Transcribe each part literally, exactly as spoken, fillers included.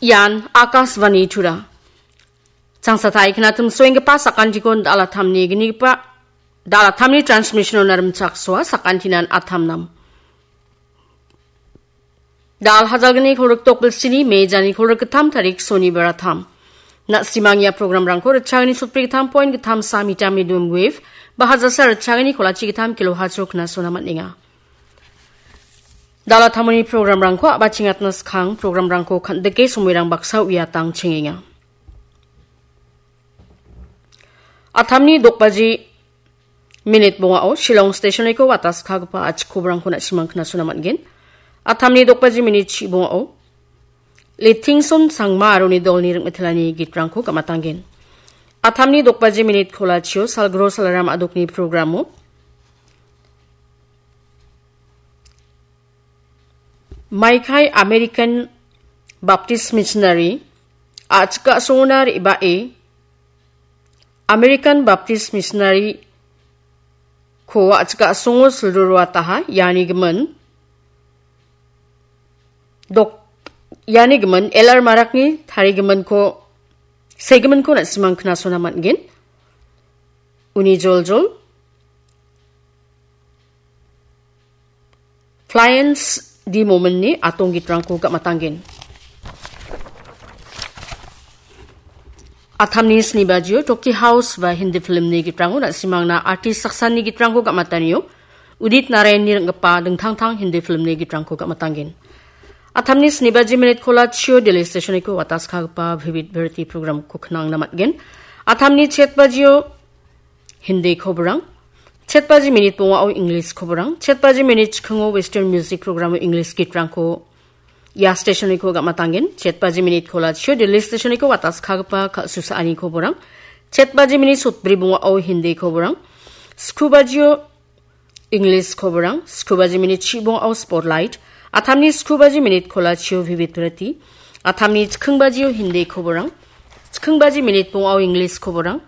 Ian Akashvani Tura. Changsatai knatum soenggipa sakantikon dalatamni gnigipa, dalatamni transmission-ona rimchaksoa sakantinan atamnam. Dal hajalgni kolrik tokbil sini, mejani kolrik gittam tarik sonibar atam. Na·simang ia program-rangko ritchagni sotbri gittam point gittam sa mita medium wave, ba hajasa ritchagni kolachi gittam kilo hacho knasona man·enga. Dalatamoni program-rangko a·bachingatna skang program-rangko kan·dike somoirang baksa uiatang chengenga. Atamni dokbaji minit bongao Shillong stationiko wataskagipa achik koborangko na·simang knasona man·gen. Atamni dokbaji minit chi bongao Litingson Sangma aro uni dolni ring·mitelani gitrangko gamatanggen. Atamni dokbaji minit kolachio Salgro Salaram Adokni programo Maikai American Baptist Missionary a·chik a·songona re·bae American Baptist Missionary ko a·chik a·songo silruruataha, iani gimin dok-, iani gimin L R Marakni tarigiminko, segiminko na·simang knasona man·gen. Uni joljol Pliance D Mominni atonggitrangko gamatanggen. Atamni snibajio Toki House ba Hindi filmni gitrango na·simangna artist saksani gitrangko gamatanio Udit Narayanni ring·gipa dingtangtang Hindi filmni gitrangko gamatanggen. Atamni snibaji minit kolachio Delhi stationiko wataskagipa Vivid Bharati programko knangna man·gen. Atamni chetbajio Hindi koborang, chetbaji minit bongao English koborang, chetbaji minit chikingo Western music programo English gitrangko ia stationiko gamatanggen. Chetbaji minit kolachio Delhi stationiko wataskagipa kal·susaani koborang, chetbaji minit sotbri bongao Hindi koborang, skubajio English koborang, skubajimini chibongao Spotlight, atamni skubajimini kolachio Vivid Bharati, atamni chikingbajio Hindi koborang, chikingbajimini bongao English koborang,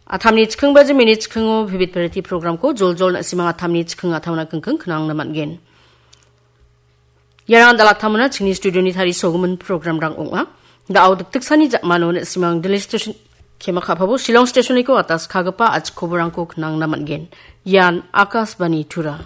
atamni chikingbajimini chikingo Vivid Bharati programko joljol na·simang atamni chiking atamna kingking knangna man·gen. Iarang dalatamona chingni studioni tarisogimin programrang ong·a. Da·o dikdiksani ja·mano na·simang Delhi station, kema ka·pabo Shillong stationiko atas kagipa achik koborangko knangna man·gen. Ian Akashvani Tura.